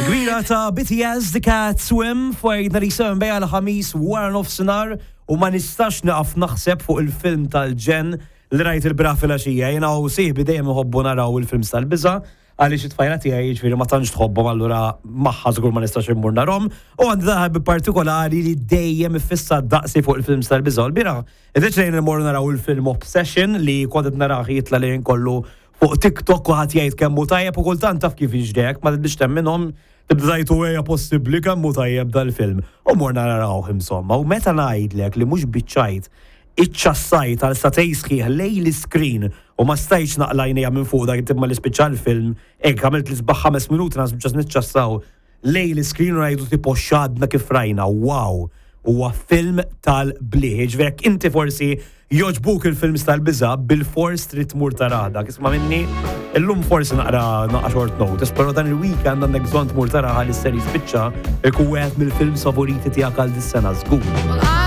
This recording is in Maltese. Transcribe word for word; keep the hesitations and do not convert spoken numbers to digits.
Kbira ta' B T S, The Cat Swim, fuq ninety-seven bejn il-Ħamis wara nofsinhar u ma nistax naqaf naħseb fuq il-film tal-ġenn li rajt il-bieraħ filgħaxija. Jiena u sieħbi dejjem nħobbu naraw il-films tal-biża', għaliex it-tfajla tiegħi, jiġifieri, ma tantx tħobbhom, allura magħha żgur ma nistax immur narahom. U għandi ħabib partikolari li dejjem iffissa daqsi fuq il-films tal-biża'. L-bieraħ iddeċidejna immorru naraw il-film Obsession, li kont qed narah jitla' li kollu fuq TikTok u ħadd jgħid kemm hu tajjeb, u kultant taf kif jiġdek, ma tibdix temminhom, tibda tgħid, "Ejja, possibbli kemm hu tajjeb dal-film?" U morna narawh insomma, u meta ngħidlek li mhux biċ-ċajt, iċċassajt għal sagħtejn sħiħ lejn l-screen u ma stajtx naqla' għajnejja minn fuq dak tibma li spiċċa l-film, hekk għamilt l-isbaħ ħames minuti nas ġas niċċassaw lejn l-screen u ngħidu tipo, "X'għadna kif rajna, wow!" Huwa film tal-bliħ. Ġifieri inti forsi jogħġbuk il-films tal-biża', bil-fors trid tmur tarah dak. Isma' minni, illum forsi naqra naqra short notice, però dan il-weekend għandek bżonn tmur tarah li ser jispiċċa ikun wieħed mill-films favoriti tiegħek għal dis-sena żgur. Well,